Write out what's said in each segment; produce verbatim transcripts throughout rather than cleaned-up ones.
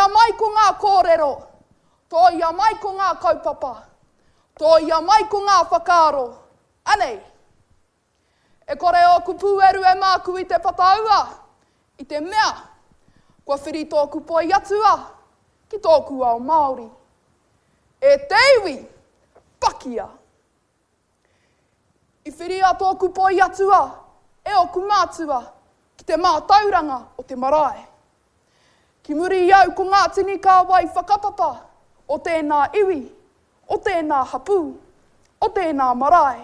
Tōia mai ko ngā kōrero, tōia mai ko ngā kaupapa, tōia mai ko ngā whakaaro. Anei! E kore ōku pūeru e māku i te pataua, i te mea, kua whiri tōku poi atua ki tōku ao Māori. E te iwi, pakia! I whiria tōku poi atua e ōku mātua ki te mātauranga o te marae. Ki muri i au ko ngā tini kāwai whakapapa o tēnā iwi, o tēnā hapū, o tēnā marae.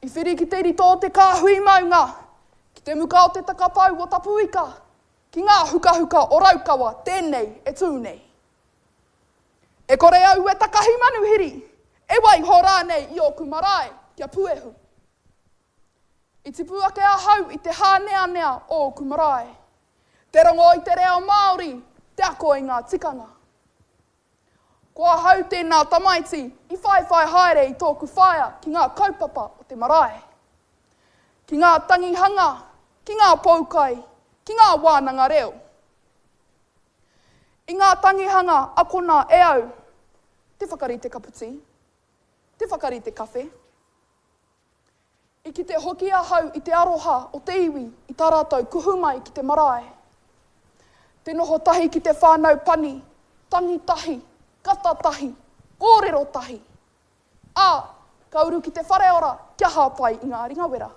I whiri ki te rito o te kāhui maunga, ki te muka o te takapau o Tapuika, ki ngā hukahuka o Raukawa tēnei e tū nei. E kore au e takahi manuhiri, e waiho rānei i ōku marae kia puehu. I tipu ake ahau i te hāneanea o ōku marae. Te rongo i te reo Māori, te ako i ngā tikanga. Ko ahau tēnā tamaiti i whaiwhai haere i tōku whaea ki ngā kaupapa o te marae. Ki ngā tangihanga, ki ngā poukai, ki ngā wānanga reo. I ngā tangihanga akona e au, te whakarite kaputi, te whakarite kawhe. I kite hoki ahau i te aroha o te iwi i tā rātou kuhu mai ki te marae. Te noho tahi ki te whānau pani, tangi tahi, kata tahi, kōrero tahi. Ā, ka uru ki te whareora kia hāpai i ngā ringawera.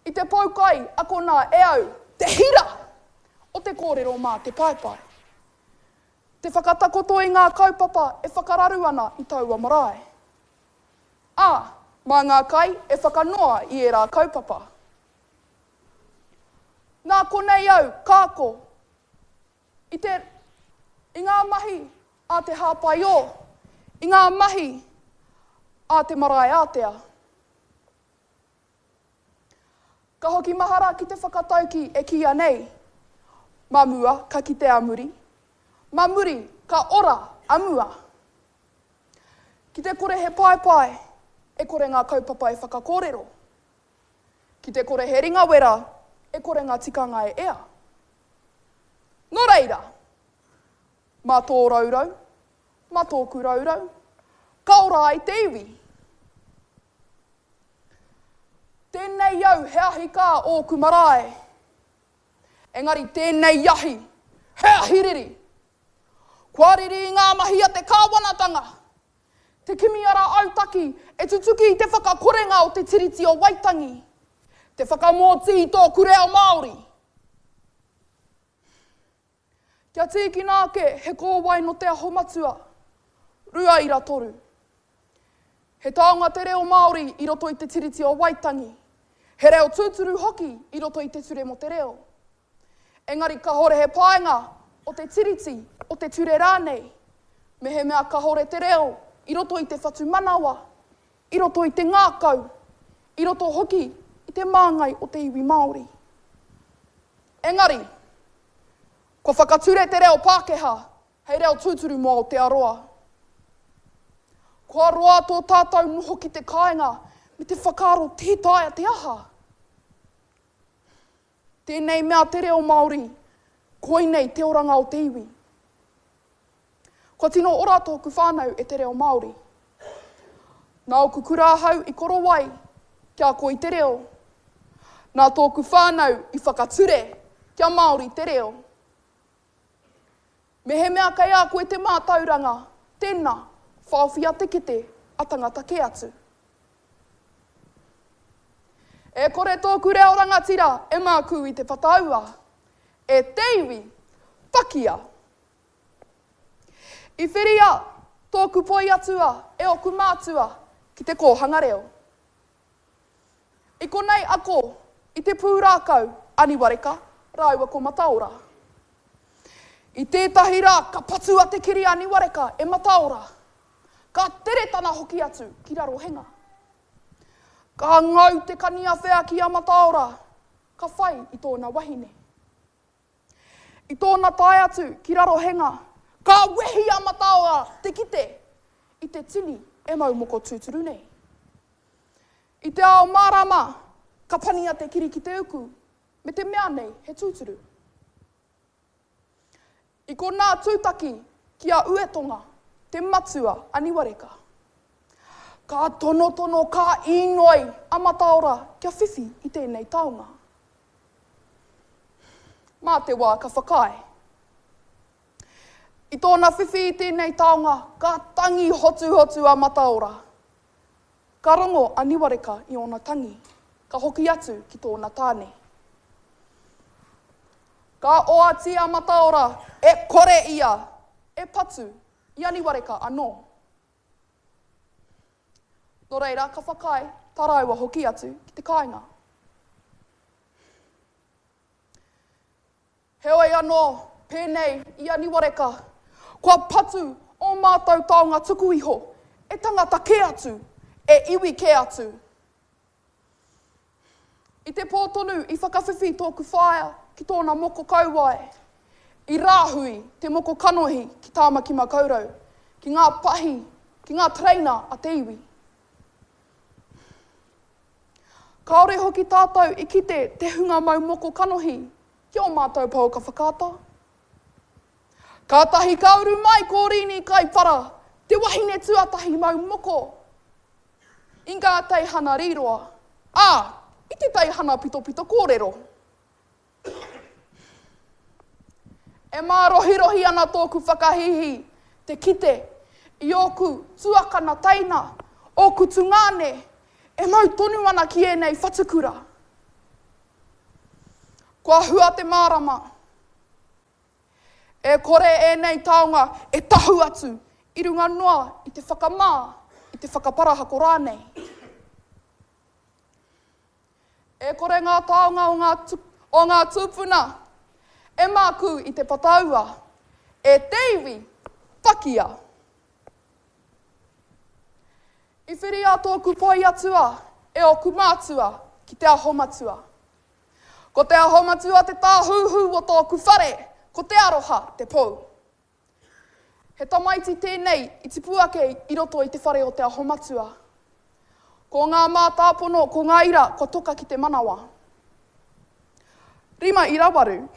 I te poukai akona e au te hira o te kōrero mā te paepae. Te whakatakoto i ngā kaupapa e whakararu ana i taua marae. Ā, mā ngā kai e whakanoa i ērā kaupapa. Nā konei au ka ako i te, i ngā mahi a te hāpai ō, i ngā mahi a te marae ātea. Ka hoki mahara ki te whakatauki e kīia nei, Mā mua ka kite a muri, mā muri ka ora a mua. Ki te kore he paepae, e kore ngā kaupapa e whakakōrero. Ki te kore he ringawera, e kore ngā tikanga e ea. Nō reira, mā tō rourou, mā tōku rourou, ka ora ai te iwi. Tēnei au he ahi kā ōku marae. Engari tēnei ahi, he ahi riri. Kua riri i ngā mahi a te kāwanatanga. Te kimi ara autaki e tutuki i te whakakorenga o te Tiriti o Waitangi. Te whakamōtī i tōku reo Māori. Kia tīkina ake he kōwae nō Te Aho Matua, rua ira toru. He taonga te reo Māori i roto i te Tiriti o Waitangi. He reo tūturu hoki i roto i te Ture mō te Reo. Engari kahore he painga o te Tiriti, o te ture rānei, mehemea kahore te reo i roto i te whatumanawa, i roto i te ngākau, i roto hoki i te māngai o te iwi Māori. Engari, kua whakature te reo Pākehā hei reo tūturu mō Aotearoa. Kua roa tō tātou noho ki te kāinga me te whakaaro tē taea te aha. Tēnei mea te reo Māori, koinei te oranga o te iwi. Kua tino ora tōku whānau e te reo Māori. Nā ōku kura ahau i korowai kia ako i te reo. Nā tōku whānau i whakature kia Māori te reo. Mehemea kei a koe te mātauranga, tēnā, whaowhia te kete a tangata kē atu. E kore tōku reo rangatira e mākū i te whataua. E te iwi, pakia! I whiria tōku poi atua e ōku mātua ki te kōhanga reo. I konei ako i te pūrākau a Niwareka rāua ko Mataora. I tētahi rā ka patua te kiri a Niwareka e Mataora. Ka tere tana hoki atu ki Rarohenga. Ka ngau te kaniawhea ki a Mataora, ka whai i tōna wahine. I tōna tae atu ki Rarohenga, ka wehi a Mataora te kite i te tini e mau moko tūturu nei. I te ao mārama, ka pania te kiri ki te uku, me te mea nei he tūturu. I konā tūtaki ki a Uetonga, te matua a Niwareka. Ka tonotono, ka inoi a Mataora kia whiwhi i tēnei taonga. Mā te wā ka whakaae. I tōna whiwhi i tēnei taonga, ka tangi hotuhotu a Mataora. Ka rongo a Niwareka i ōna tangi, ka hoki atu ki tōna tāne. Ka oati a Mataora, e kore ia e patu i a Niwareka anō. Nō reira, ka whakaae tā rāua hoki atu ki te kāinga. Heoi anō, pēnei i a Niwareka, kua patu ō mātou taonga tuku iho e tangata kē atu, e iwi kē atu. I te pō tonu i whakawhiwhi tōku whaea ki tōna moko kauae, i rāhui te moko kanohi ki Tāmaki Makaurau, ki ngā pahi, ki ngā tereina a te iwi. Kāore hoki tātou i kite te hunga mau moko kanohi ki ō mātou pouaka whakaata. Kātahi ka uru mai ko Rini Kaipara, te wahine tuatahi mau moko i ngā teihana rīroa, ā, i te teihana pitopito kōrero. E mārohirohi ana tōku whakahīhī te kite i ōku tuakana teina, ōku tungāne, e mau tonu ana ki ēnei whatukura. Kua hua te mārama. E kore ēnei taonga e tahu atu i runga noa i te whakamā, i te whakaparahako rānei. E kore ngā taonga o ngā, o ngā tūpuna e mākū i te pataua, e te iwi whakia. I whiria tōku poi atua e ōku mātua ki te aho matua. Ko te aho matua te tāhuhu o tōku whare, ko te aroha te pou. He tamaiti tēnei i tipu ake i roto i te whare o te aho matua. Ko ngā mātāpono, ko ngā ira, kua toka ki te manawa. Rima ira waru.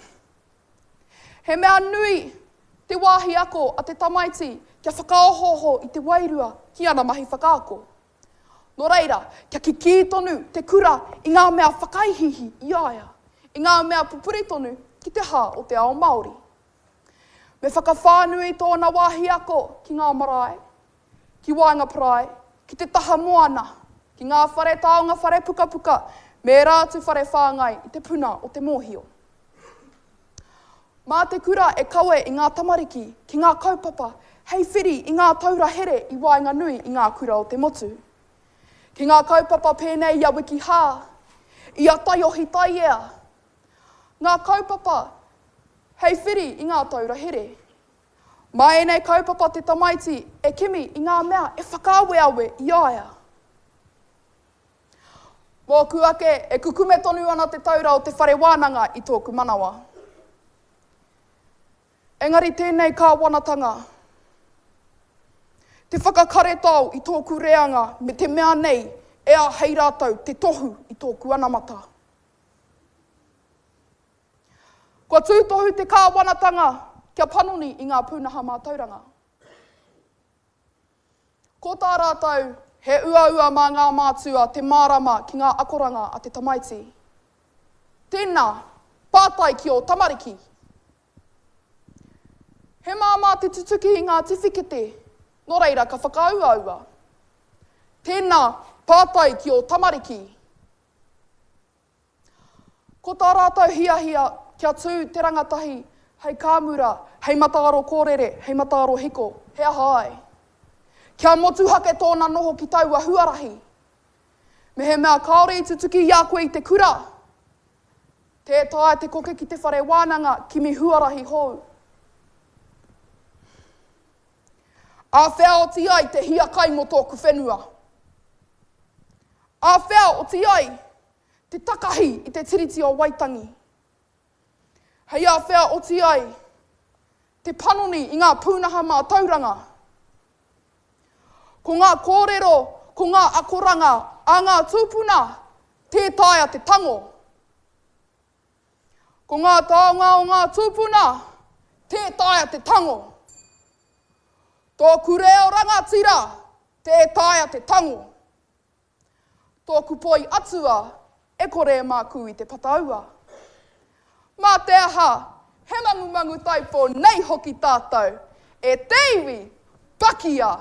He mea nui te wāhi ako a te tamaiti kia whakaohooho i te wairua ki ana mahi whakaako. Nō reira, kia kikī tonu te kura i ngā mea whakaihiihi i a ia, i ngā mea pupuri tonu ki te hā o te ao Māori. Me whakawhānui tōna wāhi ako ki ngā marae, ki waenga parae, ki te taha moana, ki ngā whare taonga whare pukapuka, me ērā atu whare whāngai i te puna o te mōhio. Mā te kura e kawe i ngā tamariki ki ngā kaupapa hei whiri i ngā taura here i waenganui i ngā kura o te motu. Ki ngā kaupapa pēnei i a Wiki Hā, i a Taiohi Taiea, ngā kaupapa hei whiri i ngā taura here. Mā ēnei kaupapa te tamaiti e kimi i ngā mea e whakaaweawe i a ia. Mōku ake, e kukume tonu ana te taura o te whare wānanga i tōku manawa. Engari tēnei kāwanatanga, te whakakaretao i tōku reanga me te mea nei e āhei rātou te tohu i tōku anamata. Kua tūtohu te kāwanatanga kia panoni i ngā pūnaha mātauranga. Ko tā rātou, he uaua mā ngā mātua te mārama ki ngā akoranga a te tamaiti. Tēnā, pātai ki ō tamariki. He māmā te tutuki i ngā tiwhikete, nō reira ka whakauaua. Tēnā, pātai ki ō tamariki. Ko tā rātou hiahia kia tū te rangatahi hei kāmura, hei mataaro kōrere, hei mataaro hiko, he aha ai. Kia motuhake tōna noho ki taua huarahi. Mehemea kāore i tutuki i a koe i te kura, tē taea te koke ki te whare wānanga kimi huarahi hou. Āwhea oti ai te hiakai mō tōku whenua. Āwhea oti ai te takahi i te Tiriti o Waitangi. Hei āwhea oti ai te panoni i ngā pūnaha mātauranga. Ko ngā kōrero, ko ngā akoranga a ngā tūpuna, tē taea te tango. Ko ngā taonga o ngā tūpuna, tē taea te tango. Tōku reo rangatira, tē taea te tango. Tōku poi atua, e kore e mākū i te pataua. Mā te aha, he mangumangu taipō nei hoki tātou, e te iwi, pakia!